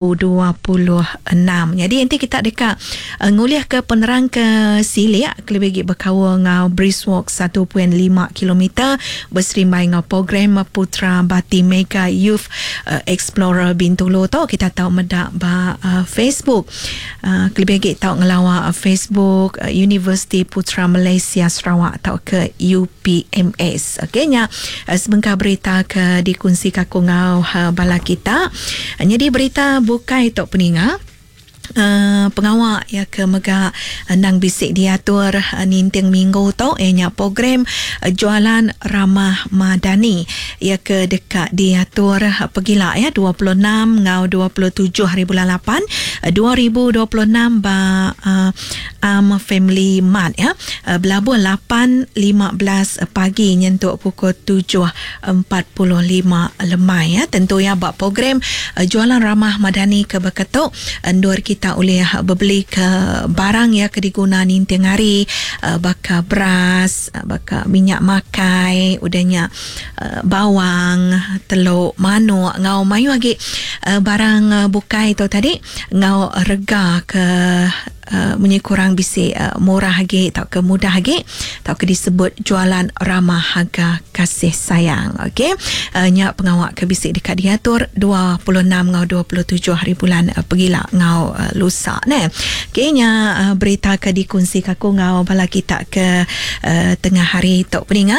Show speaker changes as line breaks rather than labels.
26. Nyadi enti kita deka ngulihka penerang ke silik kelebih agi bekaul enggau Brisk Walk 1.5 kilometer beserimbai enggau program Putra Bati Mega Youth Explorer Bintulu tu kita tau meda ba Facebook. Kelebih agi tau ngelawa Facebook Universiti Putra Malaysia Sarawak tauka UPMS. Okey nya sebengkah berita ke dikunsika aku enggau bala kita. Nyadi berita bukai tu peninga pengawa iya ke mega endang bisi diatur ninting minggu tu iya nya program Jualan Ramah Madani iya ke deka diatur pegila iya 26 enggau 27 hari bulan lapan 2026 ba Am Family Mart iya belabuh 8.15 pagi nyentuk pukul 7 45 lemai ya. Tentu ya ba program Jualan Ramah Madani ke baka tu endur kita ulih bebeli ke barang ya ke diguna ninting hari baka beras, baka minyak makai, udah nya bawang, teluk, manuk enggau mayuh agi barang bukai tu tadi enggau rega ke Munyi kurang bisi murah agi tauka mudah agi tauka disebut jualan ramah harga kasih sayang. Okey. Nya pengawa ke bisi deka diatur 26 enggau 27 hari bulan pegila enggau lusa neh. Okey nya berita ke dikunsika aku enggau bala kita ke tengah hari tu peninga.